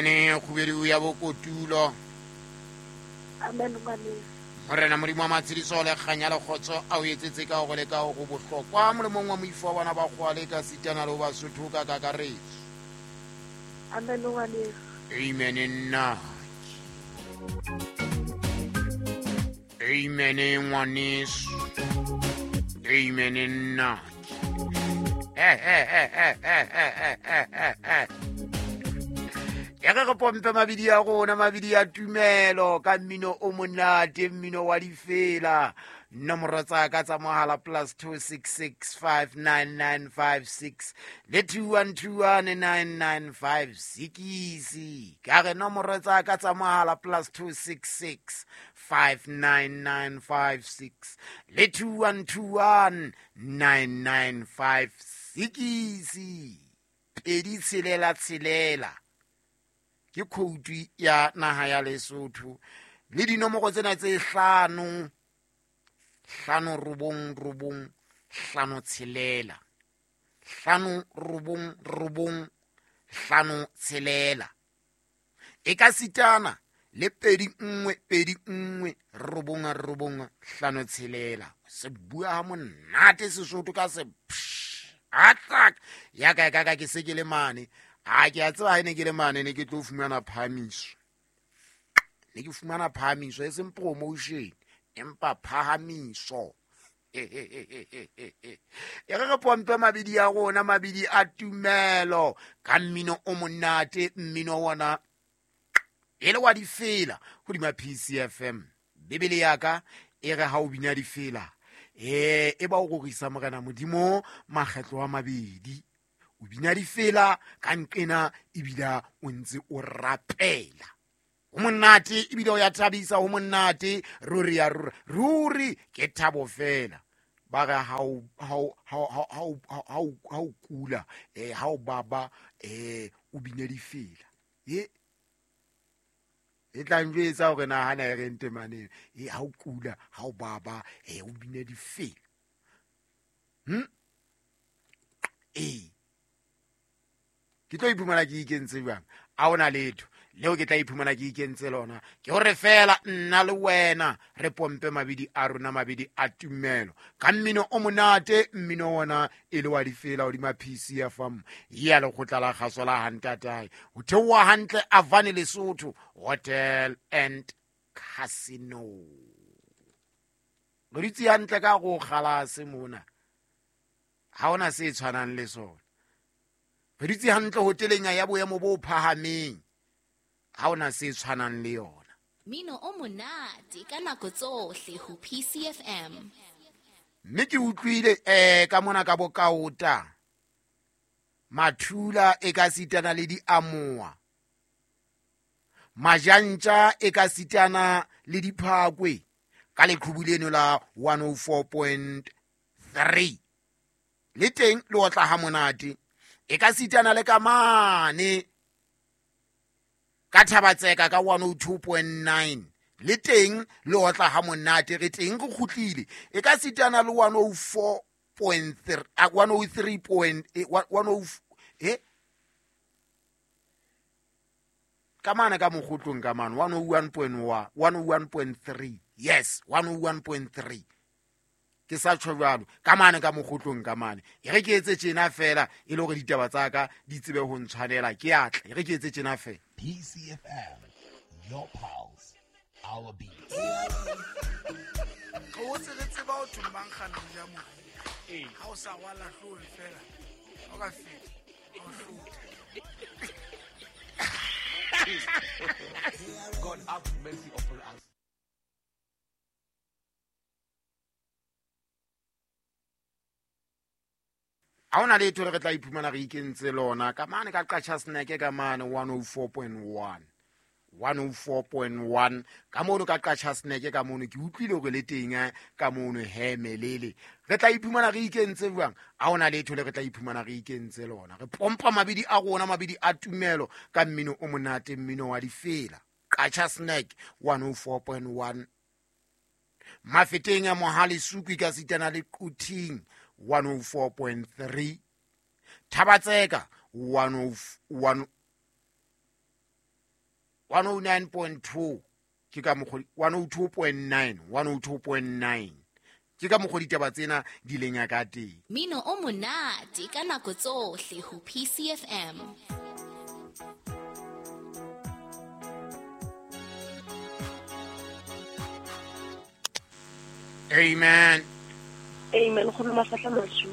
Ne kgubedu ya bokotulo. Amen ngwaneso. Morena Modimo wa matshediso le kganya le kgotso a o etsetse ka hore le ka hore bohlokwa molemong wa moifo wa bana ba kgoale ka sitana le ho Basotho ka kakaretso. Amen ngwaneso. Amen nna. Amen ngwaneso. Amen nna. Ya re re pompe mabidi a rona, mabidi a tumelo ka mmino o monate, mmino wa difela. Nomoro tsa ka tsa mohala plus 2665995 le 2121995. Ka re nomoro tsa ka tsa mohala plus 2665995 le 2121995. 266 ke khoutu ya naha ya Lesotho le dinomoro tsena tse 5 5 9 9 5 6 5 9 9 5 6 e ka sitana le 2 1 2 1 9 9 5 6. Se bua ha monate Sesotho ka se attack ya ka ka ke se ke le mane. A ke a tseba ha ne ke le mane ne ke tlo fumana phahamiso. Ne ke fumana phahamiso e seng promotion empa phahamiso. E re re pompe mabidi a rona, mabidi a tumelo ka mmino o monate, mmino wona e le wa difela hodima PCFM. Bibele ya ka e re ha o bina difela e ba o rorisa Morena Modimo makgetlo a mabedi. O bina difela ka nqena ebile o ntse o rapela. Ho monate ebile o ya thabisa, ho monate ruri ya ruri. Ruri ke thabo fela. Ba re ha o kula, ha o baba, o bine difela. E tla njwetsa hore na hana e re ntemaneng. Ha o kula, ha o baba, o bine difela. Ke tlo iphumana ke ikentse jwang? A hona letho leo ke tla iphumana ke ikentse lona. Ke hore fela nna le wena re pompe mabidi a rona, mabidi a tumelo ka mmino o monate, mmino wona e le wa difela hodima PCFM ya lekgotla la kgaso la Hantatae. Ho theoha hantle Avani Lesotho Hotel and Casino. Re dutse hantle ka go kgalase mona, ha hona se tshwanang le sona. Re dutse hantle hoteleng ya boemo bo phahameng, ha hona se tshwanang le yona. Mmino o monate ka nako tsohle ho PCFM. Mme ke utlwile ka mona ka bokaota mathula e ka sitana le diamoa, majantja e ka sitana le diphakwe ka leqhubu leno la 104.3 le teng le otla ha monate. E ka sitana le ka mane ka Thabatseka ka 102.9 le teng le otla ha monate, re teng re kgutlile. E ka sitana le 104.3 103.1 ka mane ka mokgotlong ka mane 101.1 101.3 yes 101.3 ke sa tjho jwalo ka mane ka mokgotlong ka mane. E re ke etse tjena fela e le hore ditaba tsa ka di tsebe ho ntshwanela, ke atle. E re ke etse tjena fela. PCFM, your pulse, our beat. Go tse re tseba o thumbang kgana ja mo. Ha o sa rwala hlooho fela, o ka feta, o hlotha. God have mercy upon us. Ha hona letho le re tla iphumana re ikentse lona ka mane ka Qacha Snack ka mane 104.1 104.1 ka mono ka Qacha Snack ka mono ke utlwile hore le teng ka mono hemelele. Re tla iphumana re ikentse jwang? Ha hona letho le re tla iphumana re ikentse lona. Re pompa mabidi a rona, mabidi a tumelo ka mmino o monate, mmino wa difela. Qacha Snack 104.1 Mafeteng a Mohale Sukwi ka sitana le Quthing 104.3 Thabatseka 101 109.2 ke ka mokgwa 102.9 102.9 ke ka mokgwa ditaba tsena di leng ya ka teng. Mino o monate ka nako tsohle ho PCFM. Amen. Amen. Nkgono Mafahla Masu.